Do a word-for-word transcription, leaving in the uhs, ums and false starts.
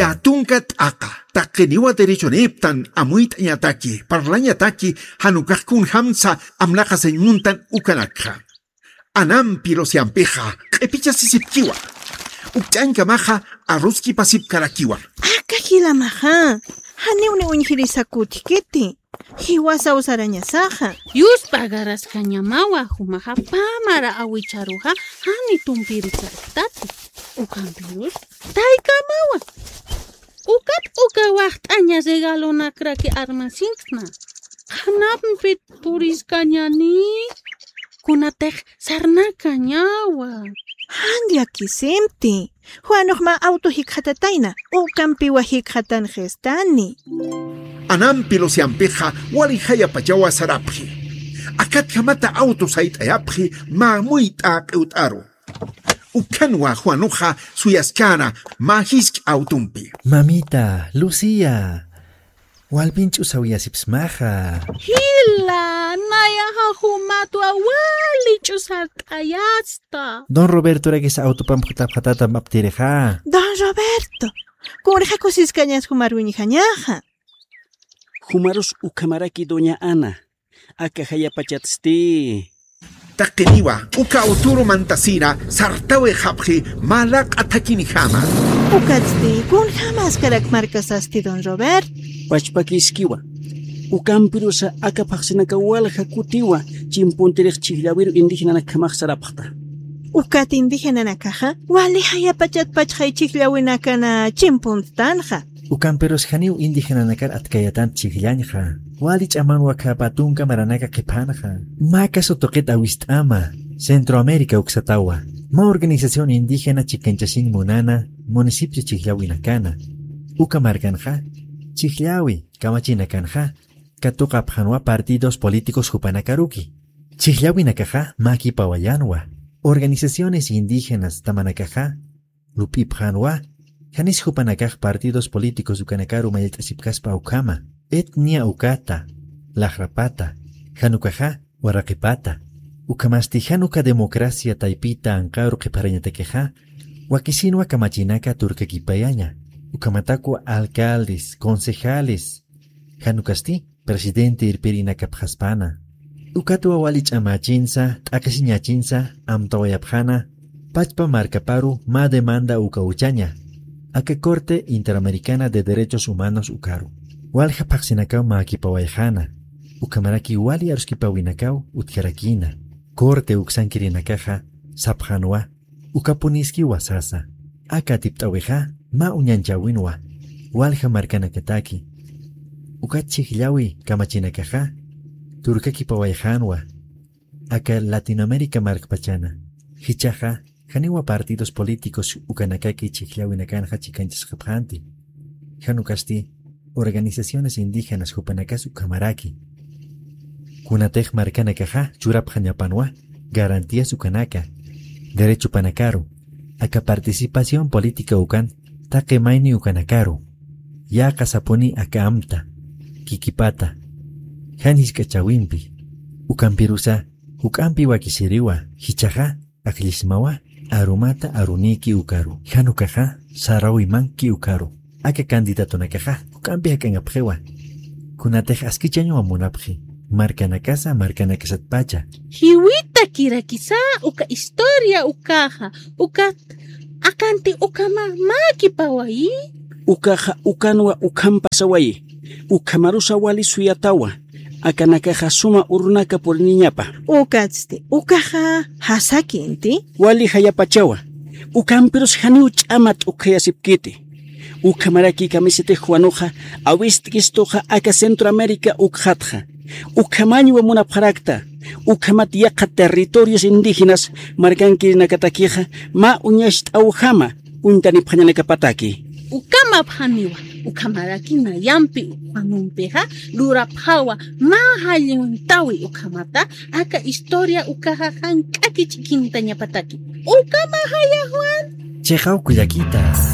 Yä tunka t'aqa, taqiniwa derechonïptan amuyt'añataki, parlañataki, jan ukax kunjamsa amnaqasiñ muntan ukanakxa. Anampi Luciampixa q'ipichasisipkiwa. Ukch'añkamaxa arruskipasipkarakiwa. Aka jilamaxa, janiw ni uñjirisa kutkiti. Jiwasaw sarañasaxa. Yuspa agaraskañamawa, jumaxa pä mara awicharuxa, jani tumpirisaktati. Ukampirus, taykamawa. Ukat uka waxt'aña regalonakraki armasinkna. Qhanampit puriskañani. Kunatix sarnakañawa. Jan llakisimti. Juanux mä auto jikxatatayna, ukampiwa jikxatanxistani. Anampi Luciampixa wali jayapachawa sarapxi. Akatjamata auto sayt'ayapxi mä muyt'a q'iwt'aru. Ukhanwa Juanuxa suyaskäna mä jisk'a autompi. Mamita, Lucía, walpin ch'usawiyasipsmaxa. Jila, nayaxa jumatwa wali ch'usart'ayasta. Don Robertorakis autopamp jutapxatatam aptirixa. Don Roberto, kunxa kusiskañas jumar wiñjañaxa. Jumarus ukhamaraki doña Ana, aka jayapachatsti. Taqiniwa, uka autoru mantasina, sartawixapxi, mä laq'a thakinjama. Ukatsti, kunjamaskarak markasasti, don Robert. Pachpakiskiwa. Ukampirusa aka phaxsinaka walja kutiwa, chimpuntirix chhijllawiru indígenanakjamax sarapxta. Ukat indígenanakaxa, wali jayapachat pachxay chhijllawinakana chimpuntanxa. Ukampirus janiw indígenanakar atkayatan chhijllañxa. Wali ch'amanwa khapa tunka maranaka qhiphanxa. Mä caso tuqit awist'ama, Centroamérica uksatawa. Mä organización indígena chikanchasin munana, municipio chhijllawinakana. Uka markanxa, chhijllawi, kamachinakanxa, katuqapxanwa partidos políticos jupanakaruki. Chhijllawinakaxa, mäkipawayanwa. Organizaciones indígenas tamanakaxa, lup'ipxänwa, janis jupanakax partidos políticos ukanakaru mallt'asipkaspa ukhama, etnia ukata, laxrapata, jan ukaxa, waraqipata, ukhamasti jan uka democracia taypita anqaru qhipharañatakixa, wakisinwa kamachinaka turkakipayaña, ukhamatakwa alcaldes, concejales, jan ukasti, presidente irpirinakapxaspana. Ukatwa wali ch'amächinsa, t'aqhisiñächinsa, amtawayapxäna, pachpa markaparu mä demanda uka uchaña, aka Corte Interamericana de Derechos Humanos ukaru. Walja phaxsinakaw mäkipawayxäna, ukhamaraki wali aruskipawinakaw utjarakïna. Corte uksankirinakaxa, sapxänwa, ukapuniskiwa sasa. Aka atipt'äwixa, mä uñanchäwinwa, walja markanakataki. Ukat chhijllawi kamachinakaxa, turkakipawayxänwa. Aka Latinoamérica markpachana. Jichhaxa, janiwa partidos políticos ukanakaki chhijllawinakanxa chikanchasxapxänti. Jan ukasti, organizaciones indígenas jupanakas ukhamaraki. Kunatix markanakaxa churapxañapanwa garantías ukanaka, derechopanakaru, aka participación política ukan taqi mayni ukanakaru, yäqasapuni aka amta, kikipata, jan jisk'achäwimpi, ukampirusa juk'ampi wakisiriwa, jichhaxa, akllisimawa, arumata arunïki ukaru. Jan ukaxa, saräwimanki ukaru. Aka candidatonakaxa, juk'ampi jak'añapxiwa. Kunatix askichañwa munapxi. Markanakasa, markanakasatpacha. Jiwitakirakisa, uka historia ukaxa, uka akanti ukhama mäkipawayi. Ukaxa, ukanwa ukhampasawayi. Ukhamarusa wali suyatawa. Akanakaxa suma urunaka puriniñapa. Ukatsti, ukaxa jasakinti. Wali jayapachawa. Ukampirus janiw ch'ama t'ukhayasipkiti. Ukhamaraki kamisitix Juanuxa, awist'istuxa aka Centroamérica ukxatxa. Ukhamañwa munapxarakta. Ukhamat yaqha territorios indígenas markankirinakatakixa, mä uñacht'awjama, uñtanipxañanakapataki. Ukamapxaniwa, ukhamaraki nayampi ukhamampixa lurapxawa mä jalluntawi ukhamata, aka historia ukaxa jank'aki ch'ikintañapataki. Ukamajaya Juan. Chiqaw kullakita.